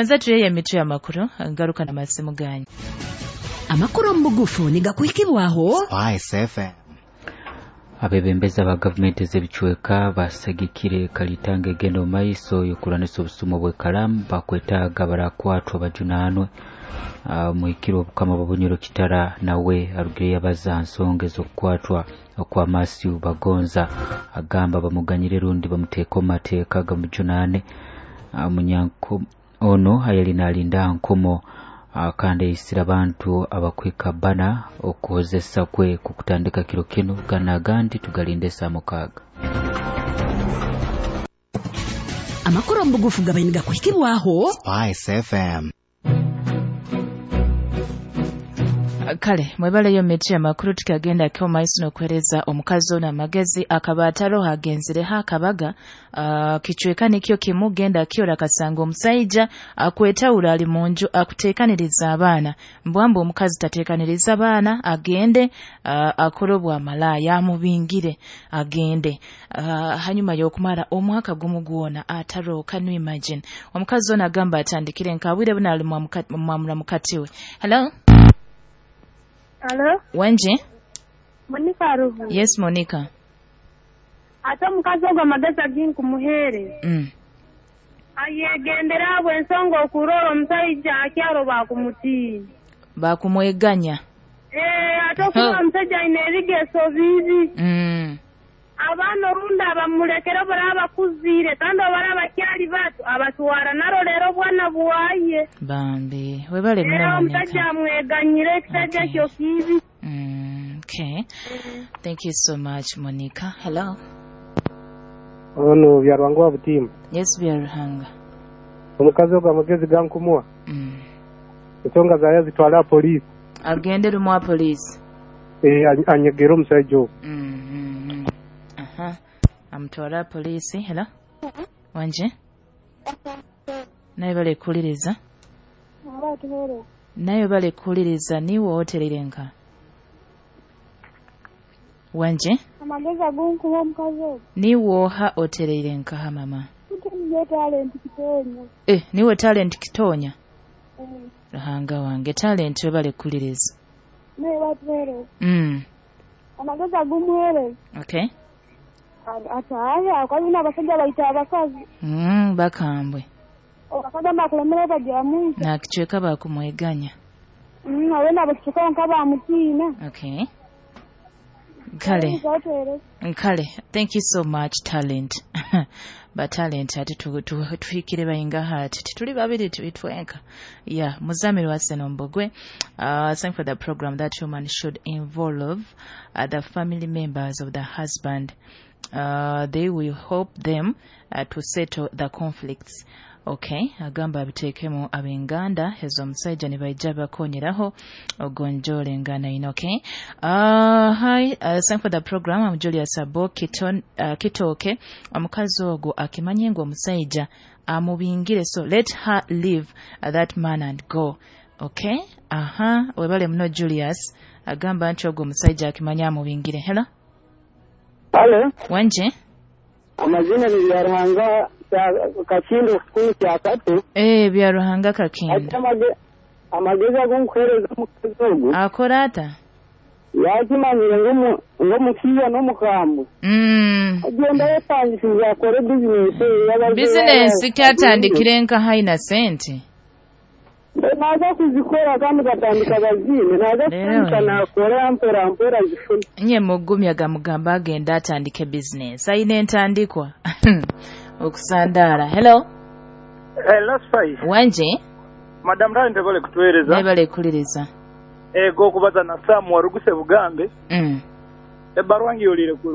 Tubanze tureye emitwe y'amakuru, ngaruka n'amasimu ganyu. Amakuru omu bugufu nigakuhikibwaho Spice FM. Abebembezi aba gavumenti ez'ebicweka basagikire kalitanga egenda omu maiso y'okurwanisa obusumo bw'ekaramu bakwetaaga barakwatwa bajunanwe. Muhikire obukama bwa Bunyoro Kitara nawe arugire yabaza ha nsonga ez'okukwatwa okwa Matthew Bagonza, agamba bamuganyire rundi bamuteeka omu mateeka gamujunane. Munyanko ono ayali nalinda nkomo, kandi ayisire abantu abakwika bana okuhozesa kwe kukutandika kiro kinu gana agandi tugalinde saa 6. Amakuru omu bugufu gabaine gakuhikibwaho Spice FM. Kale mwebaleyo miti amakuru tukagenda kyo maiso n'okuhereza omukazi ono amagezi akaba ataroho agenzireho akabaga, kichweka nikyo kimugenda kyora akasanga omusaija akwetawura ali munju akuteekaniriza abaana, mbwamba omukazi tateekaniriza abaana agende, akore obwamalaaya amubingire agende, hanyuma y'okumara omwaka gumu gwona ataroho. Can you imagine? Omukazi ono agamba atandikire nkabwire buno ali mwamura mukati we. Hello? Hello? Wenje? Monica Aruhu. Yes, Monica. Ate omukazi ogwo amagezi aginkumuheere. Ayegendera abo ensonga okurora omusajja akyaro bakumutiina. Bakumweganya. Ate okurora omusajja ayina ebigeso bibi. Abaana orundi abamulekera baraba bakuziire kandi abaraba bakyali bato abatwara narolera obwana bwaye. Bambi webale muno. Omusajja amweganyire ekisajja kyo kibi. Okay. Thank you so much, Monica. Hello. Ono Byaruhanga wa Butimba. Yes, Byaruhanga. Omukazi ogwo amagezi gankumuwa. Ensonga zayo zitwala poliisi. Agende rumwa poliisi. Anyegere omusajja ogwo. Aha. Amutwala poliisi. Hello. Wanje? Naye bale kuliriza. Naye bale kuliriza niwe oterere nka. Wanje? Amagezi agonkuwa omukazi ogwo. Niwe oha oterere nka mama. Niwe Talent Kitonya. Niwe Talent Kitonya. Ruhanga wange Talent webale kuliriza. Naye batuhere. Amagezi agumuhere. Okay. Ataya kwazina abasajja bayita abakazi. Bakambwe. Abakazi bakulemera bajamu. Na kichweka bakumweganya. Awena abakichweka nka bamutiina. Okay. Kale. Kale. Thank you so much, Talent. But Talent ate tuhikire bayinga hati tituli babiri tuitwenka. Yeah, Muzamiri wa Senombogwe. Thank for the program that woman should involve the family members of the husband. They will help them to settle the conflicts. Okay, agamba abitekemu abenganda ezo omusajja ne baija bakonyeraho ogonjole ngana ino. Okay. Hi, thank for the program. I'm Julius Abo Kitoke. Omukazi ogwo akimanye ngo omusajja amubingire, so let her leave that man and go. Okay. Aha, webale muno Julius. Agamba nti ogwo omusajja akimanye amubingire. Hello. Hello. Wanje? Amazina ni Byaruhanga Kakindo kikumi kya tatu. Byaruhanga Kakindo. Amagezi agonkuhereza omukazi ogwo. Akora ata? Yakimanyire ng'omukiiya n'omukambwe. Agenda yetandikiriza akore bizinesi. Bizinesi kyatandikire nka haina sente. Naza kuzikora kandi batandika bazine. Naza kutandika nakora mpora mpora zifuna. Nye mugumya gamugamba agenda atandike bizinesi. Ayina entandikwa. Okusandara. Hello. Hello, Spice. Wanje? Madam Rani tebale kutuwereza. Nebale kuliriza. Ego kubaza na Sam waruguse Bugambe. Ebbarwa ngiyolire ku